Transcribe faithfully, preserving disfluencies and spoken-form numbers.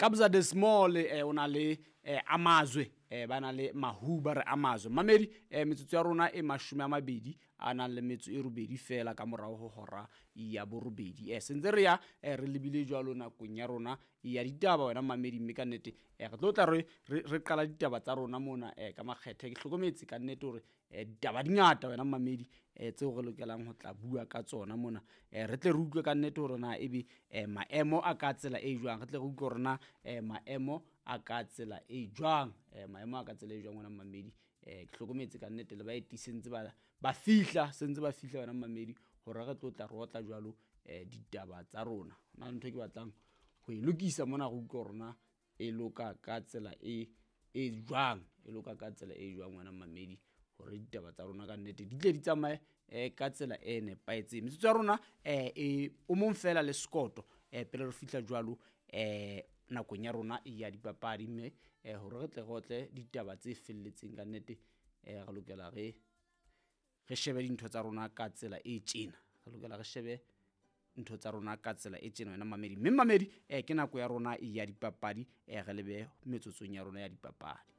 Kabza De Small eh, o na le eh, Amazwe eh, ba na le Mahuba re Amazwe. Mamedi eh, metsotso ya rona e mashome a mabedi a nang le metso e robedi fela ka morao ho hora ya borobedi. Eh, sentse re ya eh, re lebile jwalo nakong ya rona ya ditaba wena mamedi, mme ka nnete eh, re tlo tla re re qala ditaba tsa rona mona eh, ka makgethe. Ke hlokometse ka nnete hore eh, ditaba di ngata wena mamedi eh, tseo re lokelang ho tla bua ka tsona mona. Eh, re tle re utlwe ka nnete hore na ebe eh, maemo a ka tsela e jwang, re tle re utlwe hore na eh, maemo a ka tsela e jwang, eh, maemo a ka tsela e jwang wena mamedi. Eh, ke hlokometse ka nnete le baeti sentse ba ba fihla, sentse ba fihla wena mamedi hore re tlo tla re otla jwalo eh, ditaba tsa rona. Hona le ntho e ke batlang ho e lokisa mona, re utlwe hore na e loka ka tsela e e jwang, e loka ka tsela e jwang wena mamedi, hore ditaba tsa rona ka nnete di tle di tsamaye eh, ka tsela e nepahetseng. Metsotso ya rona eh, e o mong fela le sekoto eh, pele re fihla jwalo eh, nakong ya rona ya dipapadi, mme eh, hore re tle re otle ditaba tse felletseng ka nnete eh, re lokela re re shebe dintho tsa rona ka tsela e tjena, re lokela re shebe ntho tsa rona ka tsela e tjena wena mamedi. Mme mamedi eh, ke nako ya rona ya dipapadi, eh, re lebe metsotsong ya rona ya dipapadi.